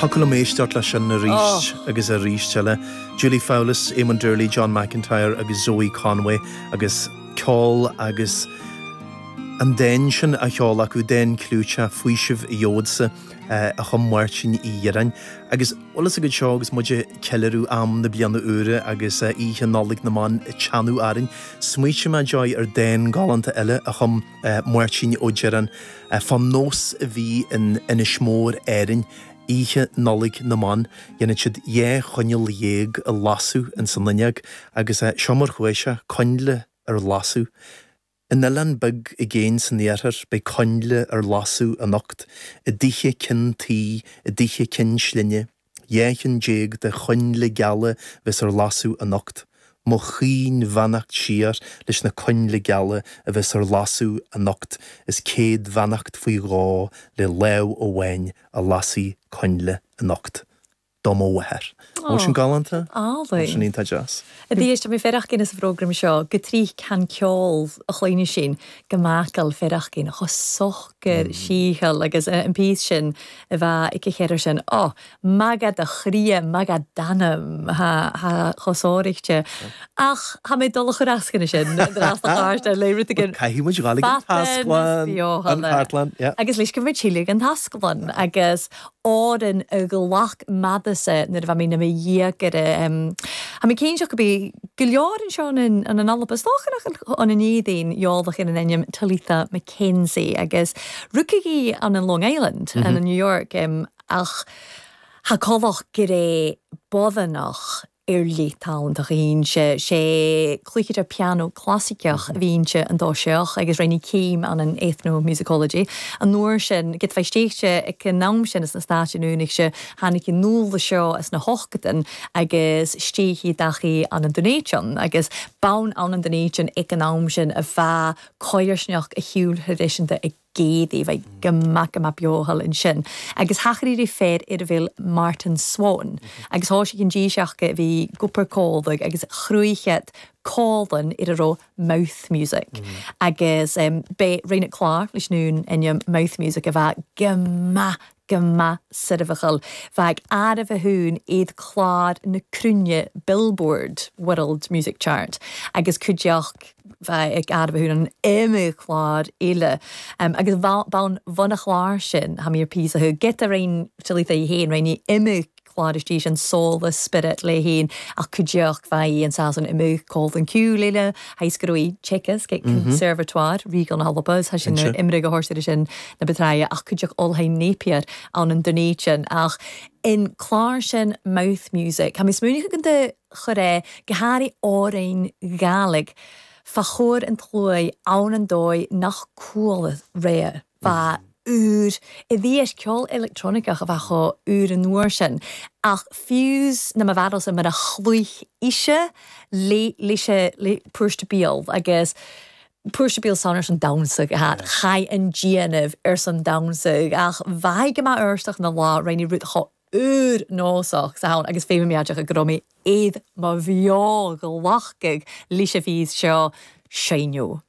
Thiocfadh liom éisteacht leis sin arís agus arís eile. Julie Fowlis, Eamon Doorley, John McIntyre agus Zoe Conway agus ceol agus an dán sin á cheol acu, dán clúiteach, Faoiseamh a Gheobhadsa, a chum Máirtín Uí Dhireáin. Agus bhfuil fhios agat seo agus muid ag ceiliúradh am na bliana úire agus oíche Nollaig na mBan ag teannadh orainn, smaoitigh mé, Joy, ar dán galánta eile a chum Máirtín Ó Direáin fán nós a bhí in Inis Mór, Árainn, oíche Nollaig na mBan. Dhéanadh siad 12 choinneal a lasadh ins an fhuinneog agus seo mar chuaigh sé, coinnle ar lasadh. In oileán beag i gcéin san iarthar beidh coinnle ar lasadh anocht, i dtithe cinn tuí, i dtithe cinn slinne. 12 chinn de choinnle geala bheas ar lasadh anocht. Mo chaoin bheannacht siar leis na coinnle geala a bheas ar lasadh anocht is 100 bheannacht faoi dhó le lámh amháin a lasfaidh coinnle anocht. Do mo mháthair. An bhfuil sin galánta? Álainn. Bhfuil sin iontach deas. A d'éist mé fearacht sa phrógram seo go tríth can ceol a chloíne sin go macal fearacht chomh socair sícheall agus an píos sin a bheith ag a cheithre sin. Ó, magadh do chroidhe, magadh d'anam, thá chomh sóiríchte. Ach thá mé dul a chur as chun sin, an chairt le rud éigin. Caithfidh muid dhul ag an tasclann, an chartlann, yeah. Agus leis go mbeidh tuilleadh an tasclann agus Árann a ghlac m'fhadasa nuair a bheidh mé 'na mo dhéagoir. Thá mé cinnteach go bith go leor anseo in an Alba. Is dócha nach ann an Éadaoin eolach ar an ainm Talitha Mackenzie agus rugadh í ann in Long Island in New York ach thá comhlach go raibh bodhanach ar leith tallanntach a bhíonn sé. Sé cluichire pianó clasaiceach a bhíonn sé an dó seoch agus rinne céim ann in ethnomusicology. An uair sin, gid fá stéichte ag an am sin sna Stáit Aontaithe, tháinig an nuala seo as na hochtadan agus stéichí dachaí ann an Dúnéiteann agus bonn ann an Dúnéiteann ag an am sin a bheadh coirsneach a shiúl thraidisiúnta ag gcéadaí, bheidh go maith go maith beothal ansin. Agus thachairí fer ar a bhfuil Martin Swan agus thá sé an díseach a bhí gupar cólaigh agus chruaidhead cólann ar a raibh mouth music. Agus b'é rinne clár leis an ainm mouth music a bheadh go maith go maith soirbheachal. Bheadh arbh a thún iad clár na cruinne Billboard World Music Chart agus cuideachd bheadh ag arbh a thún an iomadh clár eile. Agus bonn bhun a chlár sin, tha mi ar píosa thu get a roinn Talitha í fhéin, roinn í iomadh clár istigh sin Soul Spirit léi féin ach cuideachd bheadh í an Sasan iomadh Colton Cúil eile, tha go raibh í Chekas get Conservatoire Regal na hAlba, is tha sin imrigh a thabhairt ar sin na Betraia ach cuideachd Olhain Napier ann an Dunedin ach in clár sin Mouth Music. Tha mi smaoineachadh go do chur é go hairithe amhrain Ghàidhlig fá chomhair an tsluaigh ann an dóigh nach cuala ré bheadh úr i bhfios ceol electroniceach a bheadh chomh úr an uair sin ach fiú's na mo bharúilsa mar a chluich ise le leis le púirste beal agus Púirste beal san ar son damhsa go hat chaith an déanamh ar son damhsa ach bheadh go maith éisteach na lá roinne rud chomh úr nósach sa ann agus féin meáideach go raibh mé iad mo bheo ghlacadh leis a bhí seo seinneadh.